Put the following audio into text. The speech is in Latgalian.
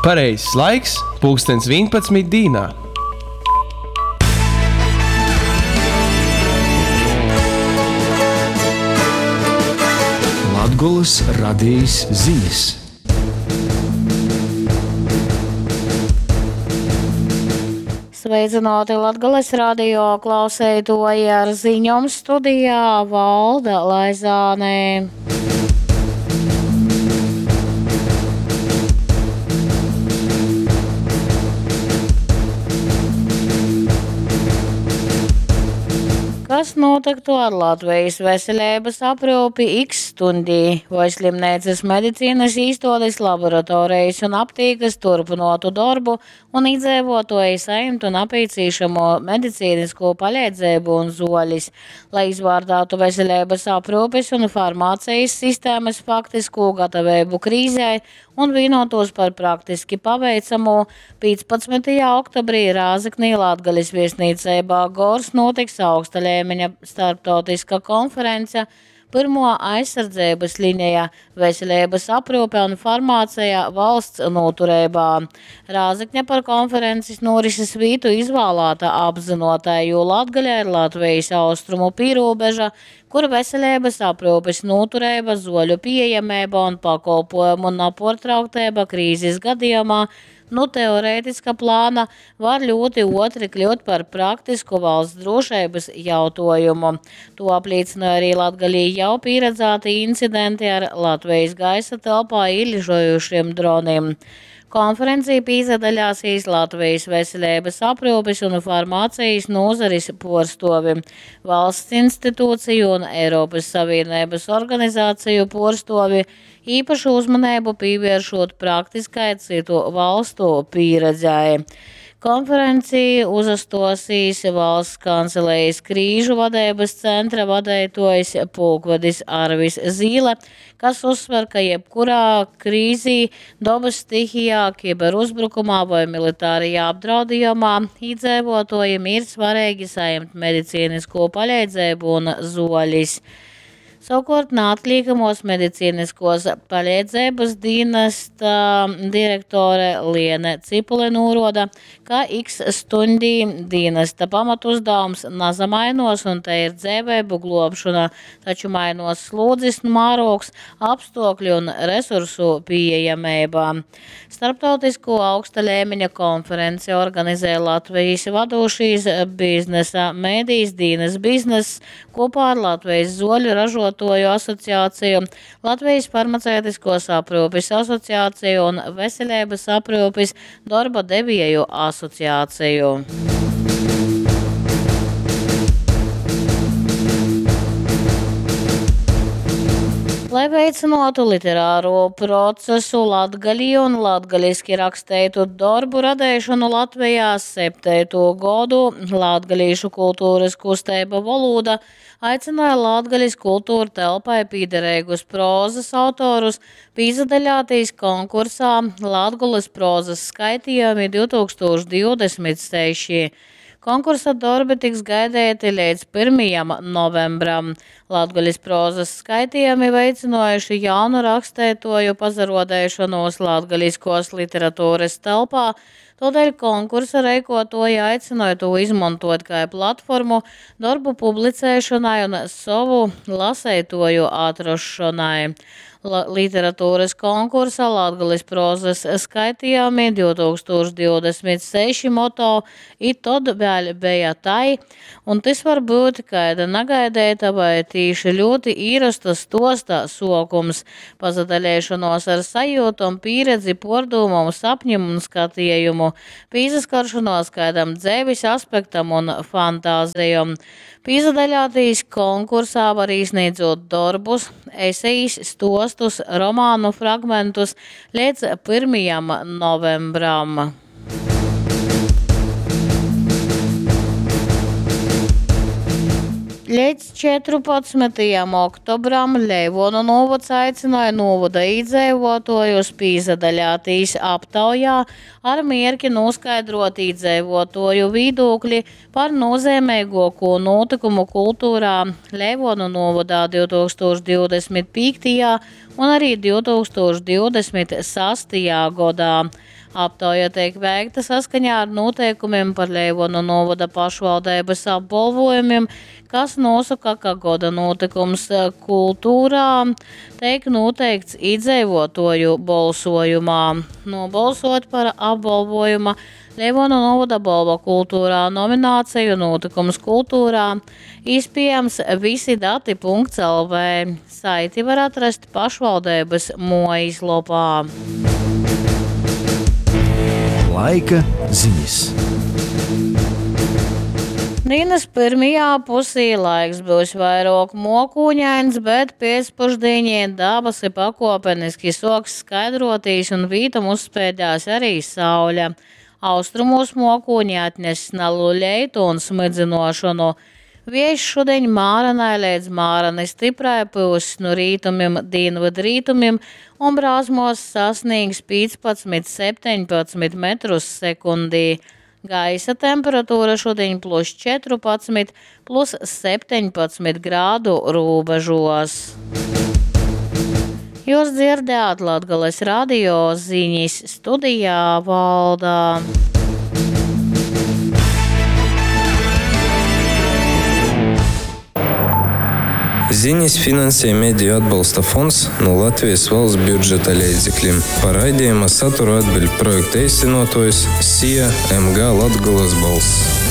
Pareizs laiks pulkstens 11 dīnā. Latgolys radejis zinis. Sveicināti Latgales radio klauseitoji ar ziņom studijā Valda Laizāne. Kas nūtyktu ar Latvijas veselības aprūpi X stundī? Voi slimneicas medicīnas īstuodes, laboratorijas un aptīkas turpinotu darbu un iedzīvotāji saimtu napīcīšamo medicīnisko palīdzību un zoļis, lai izvārdātu veselības aprūpes un farmācijas sistēmas faktisko gatavību krīzē un vienotos par praktiski paveicamo, 15. oktobrī Rāzeknī Latgales viesnīcībā Gors notiks augsta līmeņa starptautiska konference Pirmo aizsardzības līnija – veselības aprūpe un farmācija valsts noturībā. Rāzekņa par konferences norises vītu izvēlēta apzinotai, jo Latgaļa ir Latvijas austrumu pīrūbeža, kur veselības aprūpes noturība, zoļu pieejamība un pakolpojumu naportrauktība krīzes gadījumā nu teorētiska plāna var ļoti otri kļūt par praktisku valsts drošības jautājumu. To apliecināja arī Latgalī jau pieredzēti incidenti ar Latvijas gaisa telpā ieližojušiem droniem. Konferencī pīzadaļāsīs Latvijas veselības aprūpes un farmācijas nozares porstovi, valsts institūciju un Eiropas Savienības organizāciju porstovi, īpašu uzmanību pievēršot praktiskai citu valstu pieredzei. Konferencī uzastosīs valsts kancelējas krīžu vadības centra vadītājs pulkvedis Arvis Zīle, kas uzsver, ka jebkurā krīzī, dabas stihijā, kiberuzbrukumā vai militārajā apdraudījumā iedzīvotājiem ir svarīgi saņemt medicīnisko palīdzību un zoļis. Savukārt neatliekamos medicīniskos palīdzības dienesta direktore Liene Cipule noroda, ka X stundī dienesta pamatuzdevums nazamainos un te ir dzīvību globšana, taču mainos slodzes mērogs, apstākļi un resursu pieejamība. Starptautisko augsta līmeņa konferenci organizē Latvijas vadošīs biznesa mēdījis Dīnas bizness kopā ar Latvijas zoļu ražotāju asociāciju, Latvijas farmaceitiskos aprūpes asociāciju un Veselības aprūpes darba devieju asociāciju. Lai veicinātu literāro procesu latgalī un latgaliski raksteitu darbu radēšanu Latvijā septēto godu Latgalīšu kultūras kusteiba Volūda aicināja Latgalis kultūra telpai pīderīgus prozas autorus pīzadaļātīs konkursā Latgulas prozas skaitījumi 2026. Konkursa darbi tiks gaidēti līdz 1. novembram. Latgalis prozas skaitījumi veicinājuši jaunu rakstētoju pazarodēšanos latgaliskos literatūras telpā, todēļ konkursa reikotoji aicināja to izmantot kā platformu darbu publicēšanai un savu lasētoju atrašanai. Literatūras konkursa Latgales prozas skaitījumi 2026 moto i tod vēļ beja tai, un tys var būt kaida nagaidēta vai tīši ļoti īrosta stosta sokums, pazadaļēšanos ar sajūtom, pieredzi, pordūmom, sapņim un skatījumu, pīsaskaršanos kādam dzēvis aspektam un fantāzijom. Pīzadaļātīs konkursā var īsniedzot darbus, esejas, stostus, romānu fragmentus līdz 1. novembram. Līdz 14. oktobram Leivonu novads aicināja novada iedzīvotājus pīzadaļātīs aptaujā ar mierki noskaidrot iedzīvotāju viedokli par nozīmīgāko notikumu kultūrā Leivonu novadā 2025. un arī 2026. Godā. Aptauja teik veikta saskaņā ar noteikumiem par Leivonu novada pašvaldības apbalvojumiem, kas nosaka, ka goda notikums kultūrā teik noteikts iedzīvotoju balsojumā. Nobalsot par apbalvojuma Leivonu novada balva kultūrā nomināciju notikums kultūrā iespējams visidati.lv. Saiti var atrast pašvaldības mojas lopā. Laika ziņas. Dienas pirmajā pusī laiks būs vairāk mokūņains, bet pēcpušdienī dabasi pakopeniski soks skaidrotīs un vītam uzspēdās arī saule. Austrumos mokūņi atnes nalu leitu un smidzinošanu. Viejs šodien mārenai līdz māreni stiprai pūs no rītumim, dienvidrītumim un brāzmos sasniegs 15-17 metrus sekundī. Gaisa temperatūra šodien plus 14, plus 17 grādu robežos. Jūs dzirdējāt Latgales radio ziņas studijā Valdā. Ziņas finansē Mediju atbalsta fonds no Latvijas valsts budžeta līdzekļiem. Par raidījuma saturu atbild projekta īstenotājs SIA MG Latgulas balss.